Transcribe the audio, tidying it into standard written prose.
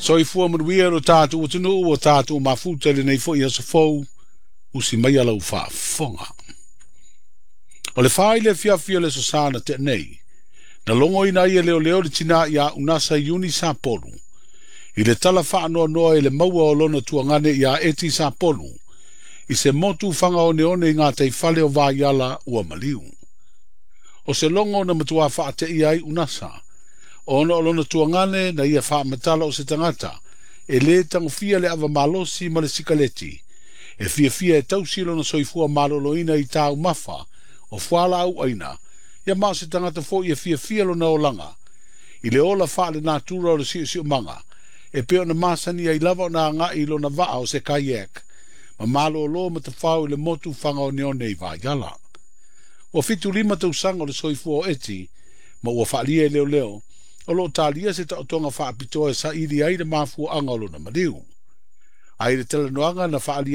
Soifua manuia lo tatou atunuu ua tatou mafuta i lenei foi aso fou, usi maia lau faafofoga. O le 4 i le afiafi o le Aso Sa na tea nei, na logoina ai e leoleo le tinā ia Unasa Iuni Sapolu i le tala faanoanoa i le maua o lona tuagane ia Eti Sapolu i se motu fagaoneone i gataifale o Vaiala ua maliu. O se logo na matua faateia ai Unasa, ona o lona tuagane na ia faamatala o se tagata e lē tagofia le ava malosi ma le sikaleti, e fiafia e tausi lona soifua maloloina i taumafa o fualaau aina, ia ma o se tagata foi e fiafia lona olaga i le ola faalenatura o le siosiomaga, e pei ona masani ai lava ona agai i lona vaa o se kayak ma malōlō matafao i le motu fagaoneone i Vaiala. Ua 75 tausaga o le soifua o Eti, ma ua faaalia e leoleo, o lo o talia se taotoga faapitoa e saili ai le mafuaaga o lona maliu. Ae i le talanoaga na faaalia